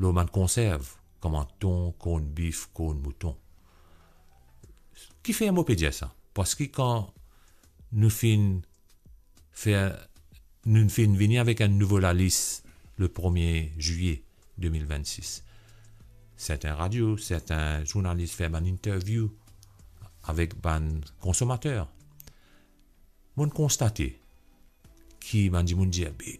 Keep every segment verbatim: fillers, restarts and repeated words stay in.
lor bann konserv, kouma ton, korn bif, korn mouton. Kifer mo pe dir sa? Parski kan nou finn fer, nou finn vini avek enn nouvo lalis le premie zilye de mil vennsis. Sertin radio, sertin zournalis fer bann interview avek bann konsomater. Mo'nn konstate ki bann dimoun dir, be,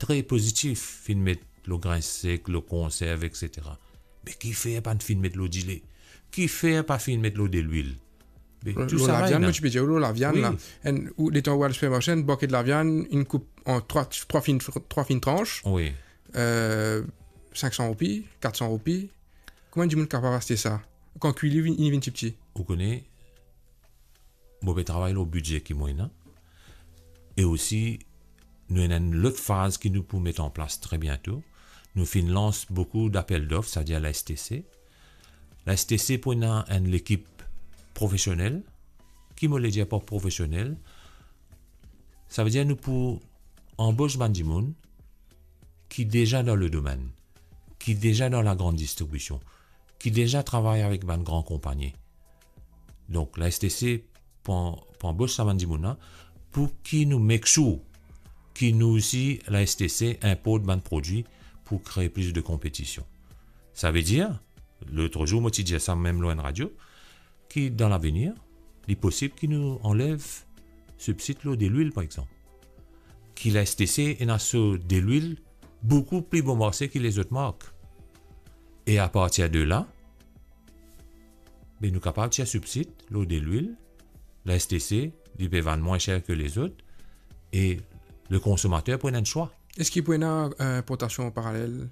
tre pozitif, finn met lor grin sek, lor konserv, et cetera. Me kifer pa finn met lor dile? Kifer pa finn met lor delwil? Be, tou sa laviann, mo ti pe dir, lor lavian la. Enn, ou letan ou al sipermarse, enn bouke laviann, inn koup an trwa, trwa finn, trwa finn trans, wi, euh, sink san roupi, kat san roupi. Kouma enn dimoun kapav aste sa? Kan kwi li vinn, li vinn tipti. Ou kone, mo pe travay lor bidze ki mo ena. E osi, nou ena enn lot faz ki nou pou met an plas tre biento. Nou finn lans boukou dapel dof, savedir la S T C. La S T C pou ena enn lekip profesionel. Ki mo le dir par profesionel? Savedir nou pou anbos bann dimoun ki deza dan le domenn, ki deza dan lagrann distribision, ki deza travay avek bann gran konpagni. Donk, la S T C pou, pou anbos sa bann dimoun la, pou ki nou make sure ki nou osi, la S T C, inport bann prodwi pou kree plis de konpetision. Savedir, lot zour mo ti dir sa mem lor enn radio, ki dan lavenir, li posib ki nou anlev sibsid lor delwil, par exanp. Ki la S T C ena so delwil boukou pli bon marse ki lezot mark. E apartir de la, be nou kapav tir sibsid lor delwil, la S T C, li pe vann mwin ser ki lezot, e le konsomater pou ena enn swa. Eski pou ena, euh, inportasion paralel?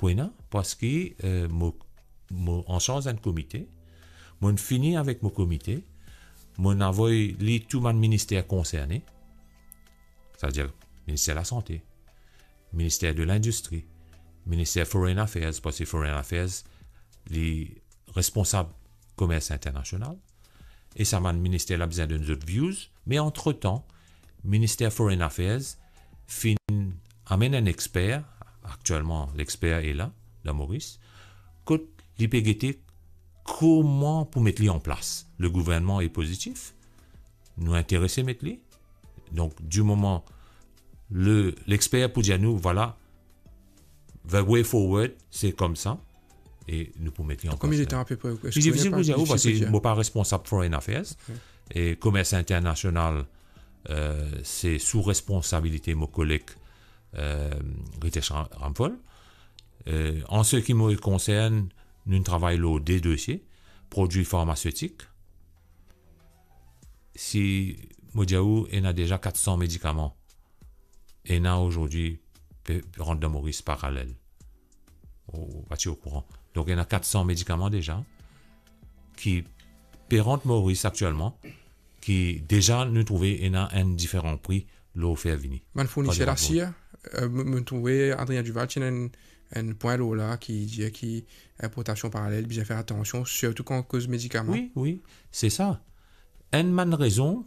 Pou ena, parski, euh, mo, mo ansarz enn komite, mo'nn fini avek mo komite, mo'nn avoy li tou bann minister konserne, savedir Minister Lasante, Minister de Lindistri, Minister Foreign Affairs, parski Foreign Affairs, li responsab komers internasional, e sa bann minister la bizin donn zot views, me antretan, Minister Foreign Affairs finn amenn enn exper, aktielman lexper e la, dan Moris, kot li pe gete kouma pou met li an plas. Le gouvernman e pozitif, nou interese met li. Donk, di moman le, lexper pou dir nou, vwala, the way forward, se koumsa, e nou pou met li an plas. Konbien de tan apepre? Li difisil pou dir ou, parski mo pa responsab Foreign Affairs, e komers internasional, euh, se sou responsabilite mo koleg, euh, Ritesh Ra-, Ramphal. Euh, an se ki mo konsern, nou travay lor de dosie, prodwi farmasetik. Si mo dir ou, ena deza kat san medikaman ena azordi pe rant dan Moris paralel. Ou pa ti okouran. Donk, ena kat san medikaman deza ki pe rant Moris aktielman, ki deza nou trouve ena enn diferan pri lor fer vini. Bann fourniser lasir, euh, mo, mo trouve Adrien Duval ti ena enn, enn pwin lor la ki dir ki inportasion paralel, bizin fer atansion, sirtou kan koz medikaman. Wi, wi, se sa. Enn bann rezon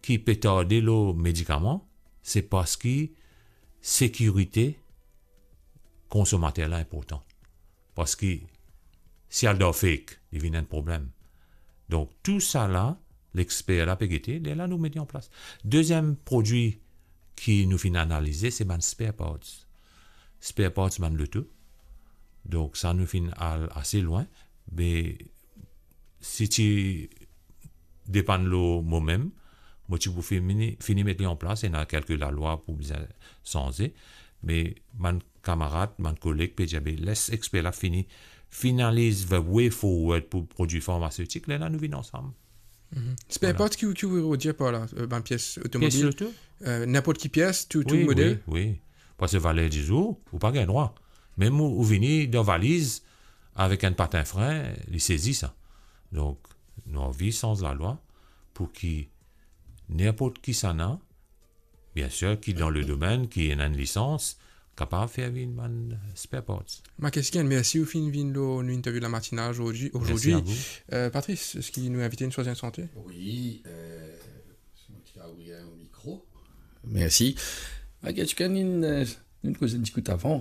ki pe tarde lor medikaman, se parski sekirite konsomater la inportan. Parski si al dan fake, li vinn enn problem. Donk, tou sa la, lexper la pe gete, lerla nou met li an plas. Deziem prodwi ki nou finn analize, se bann spare parts. Spare parts bann loto. Donk, sa nou finn al ase lwin, me si ti depann lor momem, mo ti pou fini, fini met li an plas, ena kelke lalwa pou bizin sanze, me bann kamarad, bann koleg pe dir, be, les exper la fini, finaliz the way forward pou prodwi farmasetik, lerla nou vinn ansam. Mhm. Spare parts, ki, ki ou dir par la, euh, bann pies otomobil? Pies loto? Euh, ninport ki pies, tou, tou model? Wi, wi. Parski valer dizour, ou pa gagn drwa. Mem ou, ou vini dan valiz avek enn patin frin, li sezi sa. Donk, nou anvi sanz lalwa pou ki ninport kisannla, biensir, ki dan le domenn, ki ena enn lisans, kapav fer vinn bann spare parts. Marc Esquian, mersi ou finn vinn lor nou interview La Matinale zordi, ozordi. Mersi a ou. Euh, Patrice, eski nou invite inn swazir enn sante? Wi, euh, si mo ti kapav ouvrir mo mikro. Mersi. Marc Esquian, inn, euh, nou koz enn ti kout avan.